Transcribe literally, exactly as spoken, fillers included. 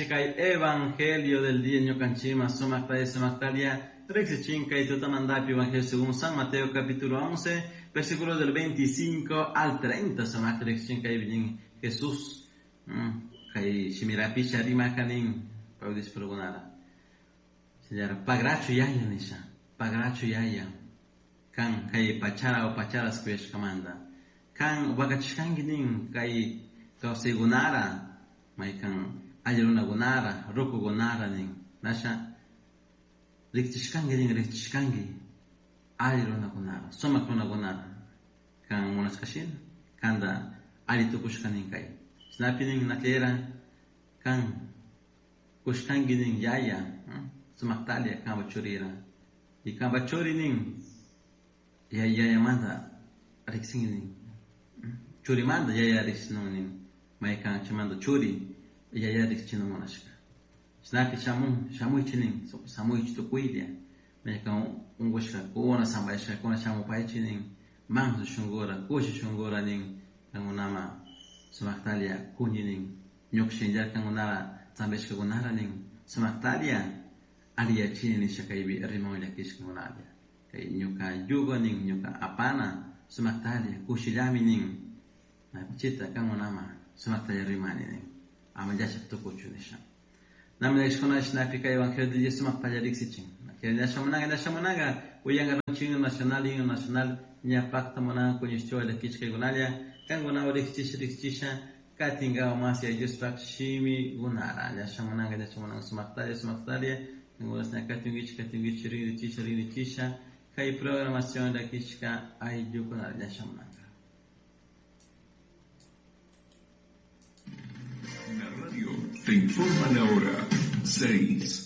Kay Evangelio del día ñukanchikman sumakta sumaktalia riqsichin kay tutamantapi Evangelio según San Mateo capítulo once versículos del veinticinco al treinta sumakta riqsichin kay Jesús kay shimirapisha rimakanin pawdispurukunara señora pagrachu yaya nisha pagrachu yaya kan kay pachara o pacharas kuyashkamanta kan wakachishkanki nin kay kawsaykunara maykan alli runakunara rukukunara nin nasha riqchishkanki nin riqchishkanki alli runakunara sumaq runakunara kan munashkashina kanta alli tukushka nin kay chaypi nin nakera kan kushkanki nin yaya sumaqtalia kanpa churira y kanpa churi nin yayamanta riqsinki nin churimanta yaya riqsinun nin maykan chaymanta churi yaya riqsichina munashka chaypi shamun shamuychik nin samuychik tukuylla maykan unqushkakuna sampayashkakuna shamupaychik nin manso shunkura kushi shunkura nin kankunama sumaqtalia kuni nin ñuka shinallar kankunara sampayashkakunara nin sumaqtalia alliyachini nisha kaypi riman llakishkakunalla kay ñuka yugo nin ñuka apana sumaqtalia kushillami nin chita kankunama sumaqtalla rimani nin ama llashaq tukuchu nisha nami llakishkuna shinapi kay Evangelio del día sumaqtalla riqsichin ñashamunanga ñashamunanga uyanka himno nacional himno nacional ña pacta munanka kuñishchiwa llakishkaykunalla kankunawan riqsichisha riqsichisha katinkawan mas Diospaq shimikunara ñashamunanga ñashamunanga sumaqtalla sumaqtalla kankunas katinkichik katinkichik rinrichisha rinrichisha kay programación llakishka ayllukunara ñashamunanga. La radio te informa la hora seis.